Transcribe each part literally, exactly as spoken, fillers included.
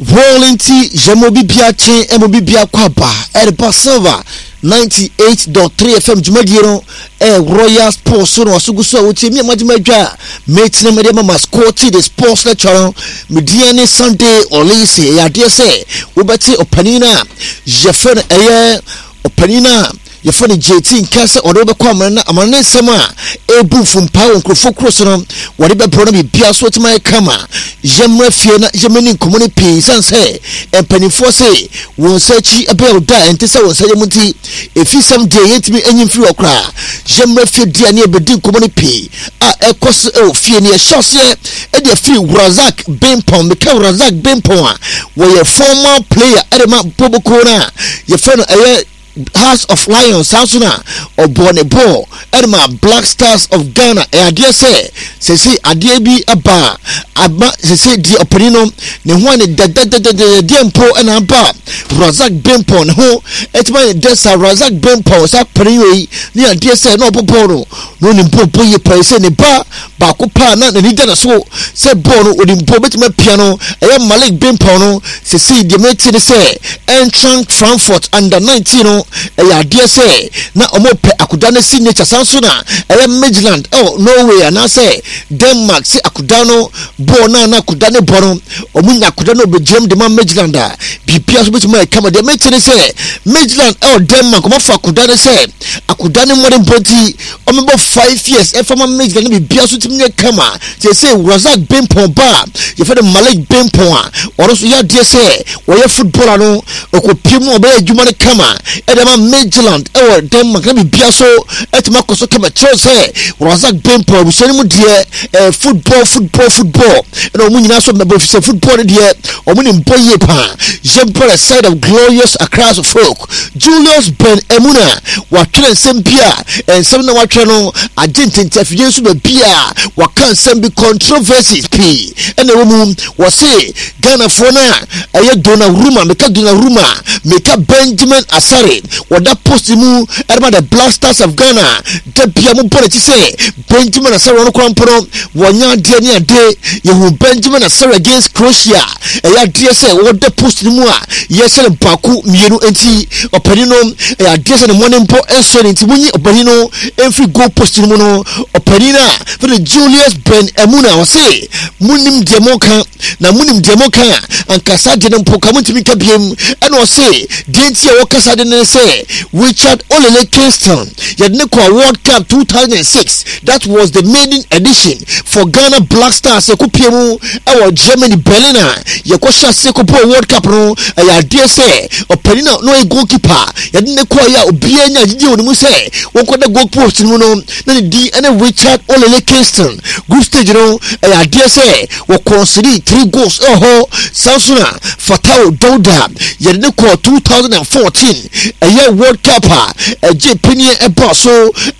Wɔn nti yɛma obi bia kye ɛma obi bia kɔ aba ɛreba Silver ninety-eight point three F M dwumadie no ɛyɛ Royal Sports so na waso gu so a wotie mi a magye madwa a mekyerɛ mede ma mascot the sports lecture no. Medeɛ ne Sunday Olise. Ɛyɛ adeɛ sɛ wobɛte ɔpanin no a yɛfrɛ no, ɛyɛ ɔpanin no a yɛfrɛ no J T nka sɛ ɔde wobɛkɔ amana na amana ne nsɛm a ɛbu mfompa wɔ nkurɔfoɔ kuro so no wɔde bɛbrɛ no. Biribia so wɔtumi ayɛ kama. Yɛmmra fie na yɛmmɛni nkɔmmɔ no pii sane sɛ mpanimfoɔ se wɔn nsa akyi ɛbɛyɛ wo da a ɛnte sɛ wɔn nsa yɛ mu, nti ɛfi sɛm deɛ yɛntumi anyi mfiri hɔ koraa. Yɛmmra fie deɛ ne yɛbɛdi nkɔmmɔ no pii a ɛkɔ so ɛwɔ fie ne yɛhyɛ aseɛ ɛde afiri Razak Bempɔn. Meka Razak Bempɔn a, wɔyɛ former player ɛde ma boboko no a yɛfrɛ no ɛyɛ House of Lions. Saa nso na ɔbɔ ne bɔɔl ɛde ma Black Stars of Ghana. Ɛyɛ adeɛ sɛ sɛsɛ adeɛ bi aba a aba sɛsɛ deɛ ɔpanin no ne ho a ne dɛdɛdɛdɛdɛdeɛ mpo ɛna aba Razak Bempɔn ne ho ɛtuma ne dɛ sa. Razak Bempɔn saa panin yi ne adeɛ sɛ na ɔbɔ bɔɔl no na onim bɔɔl bɔ yie paa sɛ ne ba baako paa na n'ani da ne so sɛ bɔɔl no onim bɔɔl bɛtumi apia no, ɛyɛ Malik Bempɔn no. Sɛsɛ deɛ mɛti ne sɛ Eintracht Frankfurt under nineteen no, ɛyɛ adeɛ sɛ na ɔmo pɛ akoda no signature. San so na ɛyɛ Midland ɛwɔ Norway anaasɛ Denmark sɛ akoda no bɔɔl no a na akoda ne bɔ no, ɔmo nya akoda no ɔbɛgyina mu de ma Midland a biribia so bɛtumi ayɛ kama. Deɛ mɛti ne sɛ Midland ɛwɔ Denmark, ɔmo afa akoda no sɛ akoda no mmɔden bɔ nti ɔmɛbɔ five years ɛfa ma Midland no, biribia so tumi yɛ kama. Sɛ sɛ Razak Bempɔn ba a yɛfrɛ no Malik Bempɔn a ɔno nso yɛ adeɛ sɛ wɔyɛ footballer no, ɔkɔpie mu ɔbɛyɛ adwuma no kama ɛde ama Midland ɛwɔ Denmark na biribia so ɛtumi akɔ so kama. Kyerɛw sɛ Razak Bempɔn abusua no mu deɛ, ɛɛ football, football, football ɛna wɔn nyinaa so mɛbɔ sɛ football no deɛ wɔn nim bɔ yie paa. Yɛmpɔ the side of glorious Accra folk, Julius Ben Emuna watwerɛ nsɛm bi a nsɛm na watwerɛ no agye ntente afidie nso baabi a waka nsɛm bi, controversies pii ɛna ɛwɔ mu. Wɔse Ghanafoɔ no a ɛyɛ Donnarumma, meka Donnarumma, meka Benjamin Asare, wɔda post mu ɛde the Black Stars of Ghana da bia mobɔ n'akyi sɛ Benjamin Asare ɔno koraa mpo no wɔnyɛ adeɛ ne ade. Yɛhu Benjamin Asare against Croatia, ɛyɛ adeɛ sɛ wɔda post no mu a yɛhyɛ no baako mmienu, nti ɔpanin no ɛyɛ adeɛ sɛ ne mmɔne mpo ɛnsɔ ne nti munyi ɔpanin no mfiri goal post no mu no. Ɔpanin a fɛn Julius Ben Emuna ɔse munim deɛ moka na munim deɛ moka a ankasa deɛ no mpo ka montumi nka biem. Ɛna ɔse deɛ nti a wɔkasa de ne sɛ Richard Olele Kingston yɛde ne kɔ World Cup two thousand six, that was the maiden edition for Ghana Black Stars, ɛkɔpie mu ɛwɔ Germany, Berlin a yɛkɔhyɛ ase kɔbɔɔ World Cup no. Ɛyɛ adeɛ sɛ ɔpanin a na ɔyɛ goalkeeper yɛde ne kɔɔ yɛ a obiara nya gyegye wɔ ne mu sɛ wɔnkɔda goal post no mu no na ne din ɛne Richard Olele Kingston. Group stage no, ɛyɛ adeɛ sɛ wɔconcede three goals ɛwɔ hɔ. Saa nso na Fatao Dauda yɛde ne kɔɔ twenty fourteen ɛyɛ World Cup a ɛgye panyin ɛba so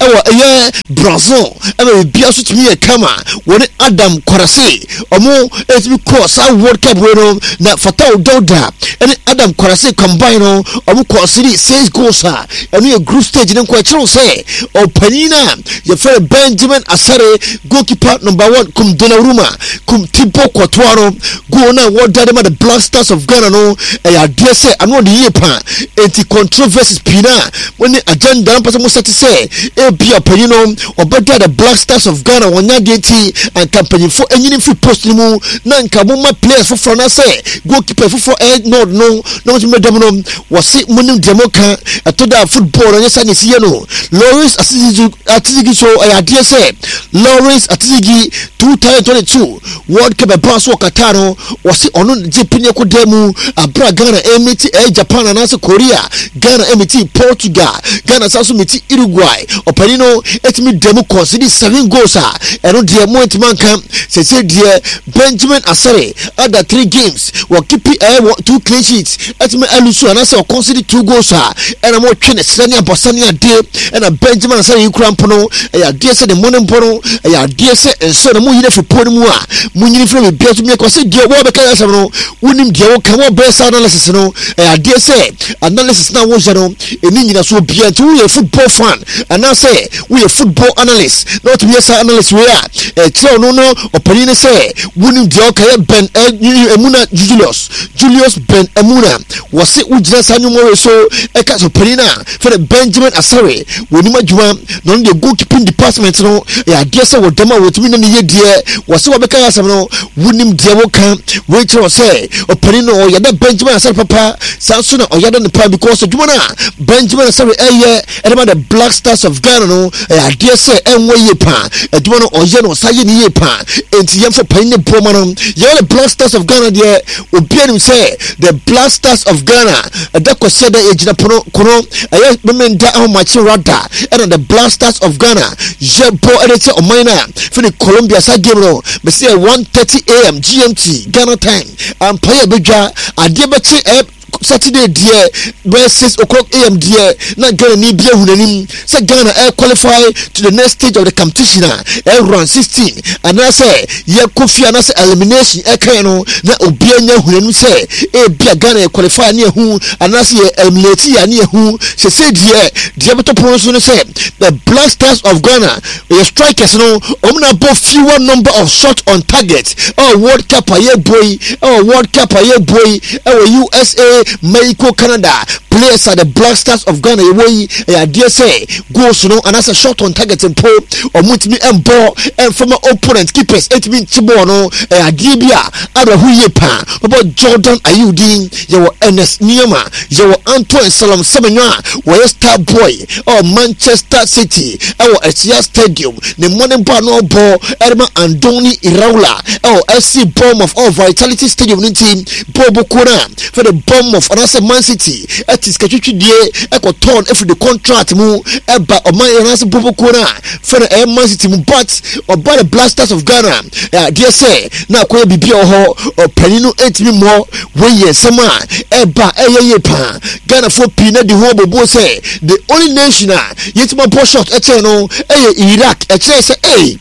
ɛwɔ ɛyɛ Brazil, ɛma biribiara so tumi yɛ kama. Wɔne Adam Kwarase ɔmo ɛtumi kɔɔ saa World Cup wei no na Fatao Dauda ɛne Adam Kwarase combine no, ɔmo concede six goals a ɛno yɛ group stage no nkɔ. Ɛkyerɛw sɛ ɔpanyin a yɛfrɛ Benjamin Asare, goalkeeper number one kum Donnarumma kum Thibaut Courtois no, goal no a wɔda de ma the Black Stars of Ghana no, ɛyɛ adeɛ sɛ ano ɔde yie paa. Enti controversies pii na wɔne agenda no mpɛ sɛ mo sɛte sɛ ebi ɔpanyin no ɔbɛda the Black Stars of Ghana wɔnya adeɛ nti anka mpanyinfoɔ anyini firi post no mu na nka mo ma players foforɔ na sɛ goalkeeper foforɔ ɛyɛ nɔɔd no na wɔn nso bɛda mu no. Wɔsi mo nim deɛ mo ka ɛtɔ da football no nyɛ saa na esi yɛ no. Lawrence Atizigi so ɛyɛ adeɛ sɛ Lawrence Atizigi twenty twenty-two World Cup ɛbaa so wɔ Qatar no, wɔsi ɔno gye pini ɛkɔ dan mu abira Ghana ɛmiti ɛyɛ Japan anaasɛ Korea, Ghana ɛmiti Portugal, Ghana san so miti Uruguay. Ɔpanin no ɛtumi dan mu concede seven goals a ɛno deɛ mo ntoma nka. Sɛsɛ deɛ Benjamin Asare ada three games wɔ keep ɛyɛ wɔ two clean sheets, ɛtumi alose anaasɛ ɔconcede two goals a ɛna mo twe ne serɛ ne abɔsa ne adeɛ. Ɛna Benjamin Asare yi kura mpo no, ɛyɛ adeɛ sɛ ne mmɔ ne mpo no, ɛyɛ adeɛ sɛ nsɔ na mo yi no afiri po no mu a mo nyini firi biribiara so miɛ kɔ sɛ deɛ wɔbɛka yɛ asɛm no. Wonim deɛ woka. Wɔbɛyɛ saa analysis no, ɛyɛ adeɛ sɛ analysis na woyɛ no ɛni nyinasoɔ biara. Nti woyɛ football fan anaasɛ woyɛ football analyst na wotumi yɛ saa analyst wei a, ɛkyerɛ ɔno no ɔpanin no sɛ wonim deɛ ɔka. Yɛ Ben Emuna, Julius Julius Ben Emuna, wɔse wogyina saa nnwuma wei so ɛka sɛ ɔpanin a fɛnɛ Benjamin Asare wɔnim adwuma na ɔno deɛ goalkeeping department no ɛyɛ adeɛ sɛ wɔdam a wɔtumi ne ne yɛ deɛ. Wɔse wɔbɛka yɛ asɛm no, wonim deɛ woka. Wei kyerɛ sɛ ɔpanin no ɔyɛ dɛ Benjamin Asare papa, saa nso na ɔyɛ dɛ ne pa, because adwuma no a Benjamin Asare ɛyɛ ɛde ma the Black Stars of Ghana no ɛyɛ adeɛ sɛ ɛnwɔ yie paa. Adwuma no ɔyɛ no, ɔsa yɛ ne yie paa, enti yɛmfa panin ne boɔ ma no. Yɛwɔ the Black Stars of Ghana deɛ, obiara nim sɛ the Black Stars of Ghana ɛda kɔsiɛ dɛ yɛgyina pono kono, ɛyɛ memenda ahomakye rada, ɛna the Black Stars of Ghana yɛbɔ ɛde kyɛ ɔman no a fini Colombia. Saa game no mɛsi yɛ one thirty a m G M T, Ghana time. Ampa yɛ bɛdwa adeɛ bɛkye ɛyɛ Saturday deɛ bɛyɛ six o'clock a m deɛ na Ghana ni bi ehu n'anim sɛ Ghana ɛ qualify to the next stage of the competition a ɛ round sixteen anaasɛ yɛkɔ fie anaasɛ elimination ɛkan no, na obiara nya hu n'anim sɛ ebi a Ghana yɛ qualify ne ehu anaasɛ yɛ eliminate yɛ ne ehu. Sese deɛ deɛ bɛtɔ pono so no sɛ the Black Stars of Ghana yɛ strikers no, wɔn na bɔ fewer number of shots on target ɛwɔ World Cup a yɛbɔ yi, ɛwɔ World Cup a yɛbɔ yi ɛwɔ U S A, Mexico, Canada. Players are the Black Stars of Ghana yɛwɔ yi, ɛyɛ adeɛ sɛ goals no anaasɛ shot on target mpo wɔn ntumi mbɔ ɛnfama opponent keepers ɛntumi nkye bɔɔl no. Ɛyɛ adeɛ bi a awerɛho yie paa. Bɛbɔ Jordan Ayew din, yɛwɔ Ernest Nuamah, yɛwɔ Antoine Salam Semenyo a wɔyɛ star boy ɛwɔ Manchester City ɛwɔ Etihad Stadium. Ne mmɔne bɔ a na ɔbɔ ɛde Andoni Iraola ɛwɔ F C Bournemouth ɛwɔ Vitality Stadium no nti bɔɔl kuo no a fɛ de Bournemouth anaasɛ Man City ɛte sika twitwidie ɛkɔtɔn ɛfiri de contract mu ɛba ɔman anaasɛ bɔɔl kuo no a fɛ no ɛyɛ Man City mu, but ɔba the Black Stars of Ghana, adeɛ sɛ na akɔyɛ biribi a wɔ hɔ ɔpanin no ɛntumi mmɔ. Wɔyɛ nsɛm a ɛba ɛyɛ yie paa. Ghanafoɔ pii na di ho abobuo sɛ the only nation a yɛtumi abɔ shot ɛkyɛn no ɛyɛ Iraq. Ɛkyerɛ sɛ ɛy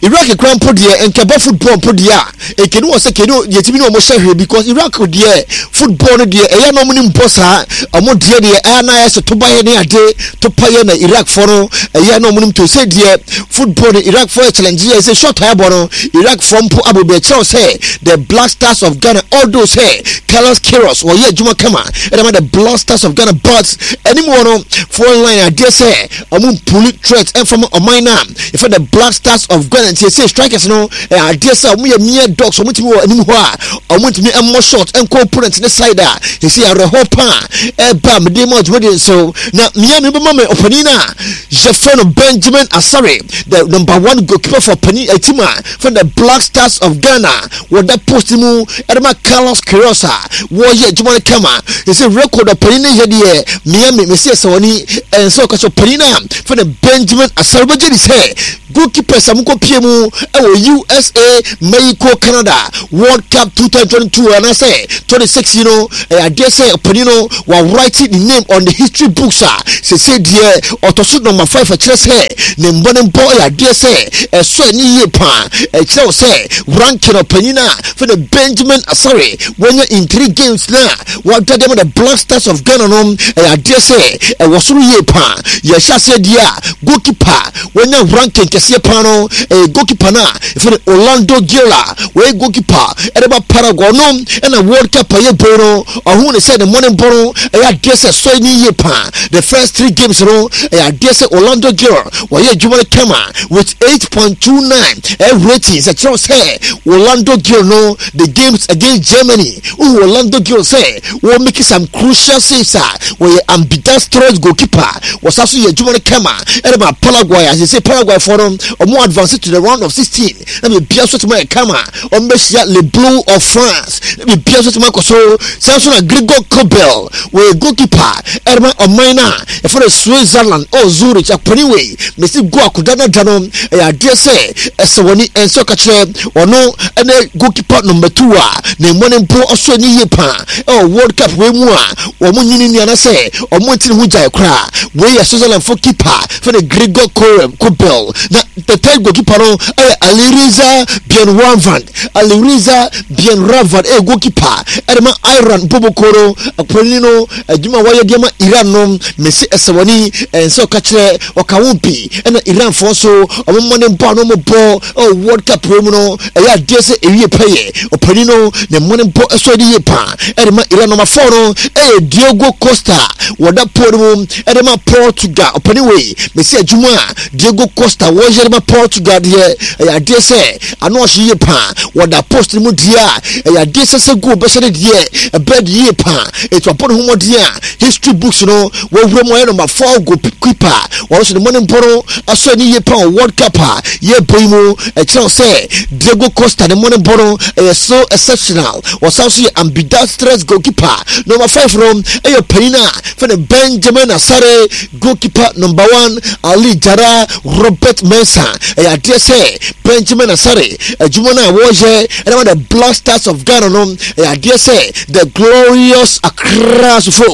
Iraq kura mpo deɛ nkɛbɔ football mpo deɛ a ekeni wɔ sɛ keni yɛtumi ne wɔn hyɛ hwee, because Iraq deɛ football no deɛ ɛyɛ na wɔn ne mbɔ saa. Wɔn deɛ deɛ ɛyɛ na ayɛ sɛ toba yɛ ne ade topa yɛ na Iraq fo no ɛyɛ na wɔn nim to sɛ deɛ football no Iraq fo yɛ challenge yɛ sɛ shot ayɛbɔ no Iraq fo mpo abɔ bi. Ɛkyerɛw sɛ the Black Stars of Ghana, although sɛ Carlos Queiroz wɔyɛ adwuma kama ɛna ma the Black Stars of Ghana, but anim wɔ no phone line adeɛ sɛ ɔmo mpuli threat ɛnfam ɔman na yɛfɛ the Black Stars of Ghana. Nti ɛsɛ strikers no ɛyɛ adeɛ sɛ ɔmo yɛ mere dogs. Ɔmo tumi wɔ anim hɔ a ɔmo ntumi ɛmmɔ shot ɛnkɔ opponent ne side a yɛsɛ awerɛhɔ paa ɛba mede mu adwumadi nso na mmea mi bɛma me ɔpanin a yɛfrɛ no Benjamin Asare, the number one goalkeeper for panin team a for the Black Stars of Ghana. Wɔda post mu ɛde ma Carlos Queiroz a wɔyɛ adwuma no kama. Yɛsɛ record ɔpanin no yɛ deɛ mmea mi mesi ɛsɛ wɔne ɛnsɛ ɔka sɛ ɔpanin a fɛ no Benjamin Asare bɛgye di sɛ goalkeepers a mokɔ pie mu ɛwɔ U S A, Mexico, Canada World Cup twenty twenty-two anaasɛ twenty-six yi no, ɛyɛ adeɛ sɛ ɔpanin no wa write ne name on the history books a sese deɛ ɔtɔ so number five. Ɛkyerɛ sɛ ne mbɔ ne mbɔ ɛyɛ adeɛ sɛ ɛsɔ ani yie paa. Ɛkyerɛ wo sɛ ranking ɔpanin a fɛ no Benjamin Asare wɔnya in three games na wada deɛ ma the Black Stars of Ghana no ɛyɛ adeɛ sɛ ɛwɔ soro yie paa. Yɛhyɛ aseɛ deɛ a goalkeeper wɔnya ranking kɛseɛ paa no ɛyɛ goalkeeper no a ɛfɛ no Orlando Gil, wɔyɛ goalkeeper ɛde ba Paraguay no, ɛna World Cup a yɛ no ɔho ne sɛ ne mmɔne bɔ no ɛyɛ adeɛ sɛ sɔe ne yie paa. The first three games no ɛyɛ adeɛ sɛ Orlando Gil wɔyɛ adwuma no kama with eight point two nine ɛ rating. Sɛ kyerɛw sɛ Orlando Gil no, the games against Germany, wohu Orlando Gil sɛ wɔn make some crucial saves a wɔyɛ ambidextrous goalkeeper. Wɔsa so yɛ adwuma no kama ɛde ma Paraguay a sɛ Paraguay foɔ no ɔmo advance to the round of sixteen na biribia so tuma yɛ kama. Ɔmo bɛhyia Le Bleu of France na biribia so tuma akɔ so. Saa nso na Gregor Kobel, wɔyɛ goalkeeper ɛde ma ɔman no a yɛfrɛ no Switzerland ɔ Zurich. Akɔni wei mesi go akoda no da no ɛyɛ adeɛ sɛ ɛsɛ wɔni ɛnsɛ ɔka kyerɛ ɔno ɛne goalkeeper number two a ne mmɔ ne mpo ɔso ani yie paa ɛwɔ World Cup wei mu a wɔn nyini ni anasɛ wɔn ntini ho gyae koraa. Wei yɛ Switzerland fo keeper fɛ ne Gregor Kobel, na the third goalkeeper no ɛyɛ Alireza Beiranvand. Alireza Beiranvand ɛyɛ goalkeeper ɛde ma Iran bobokoro. Akɔni no adwuma a wɔyɛ de ma Iran no, mesi ɛsɛwɔni ɛnsɛ ɔka kyerɛ ɔka ho bi, ɛna Iranfoɔ nso ɔmo mmɔ ne bɔ a no ɔmo bɔ ɛwɔ World Cup wei mu no, ɛyɛ adeɛ sɛ ewie pɛyɛ. Ɔpanin no ne mmɔ ne bɔ ɛsɔ de yie paa ɛde ma Iran. Number four no ɛyɛ Diogo Costa, wɔda pole no mu ɛde ma Portugal. Ɔpanin wei, mesi adwuma a Diogo Costa wɔyɛ de ma Portugal deɛ, ɛyɛ adeɛ sɛ ano ɔhye yie paa. Wɔda post no mu deɛ a, ɛyɛ adeɛ sɛ sɛ goal bɛhyɛ ne deɛ ɛbɛɛ de yie paa. Etu abɔ ne ho mmɔden a history books no wɔwura mu, ɔyɛ number four goalkeeper. Wɔn nso ne mmɔ ne mbɔ no asɔ ne yie paa wɔ World Cup a yɛbɔ yi mu. Ɛkyerɛw sɛ Diogo Costa ne mmɔ ne mbɔ no ɛyɛ so exceptional. Wɔsan so yɛ ambidextrous goalkeeper. Number five no ɛyɛ panyin a fɛnɛ Benjamin Asare, goalkeeper number one Ali Jara Robert Mensah. Ɛyɛ adeɛ sɛ Benjamin Asare adwuma no a wɔreyɛ ɛna the Black Stars of Ghana no, ɛyɛ adeɛ sɛ the glorious Accra sofo.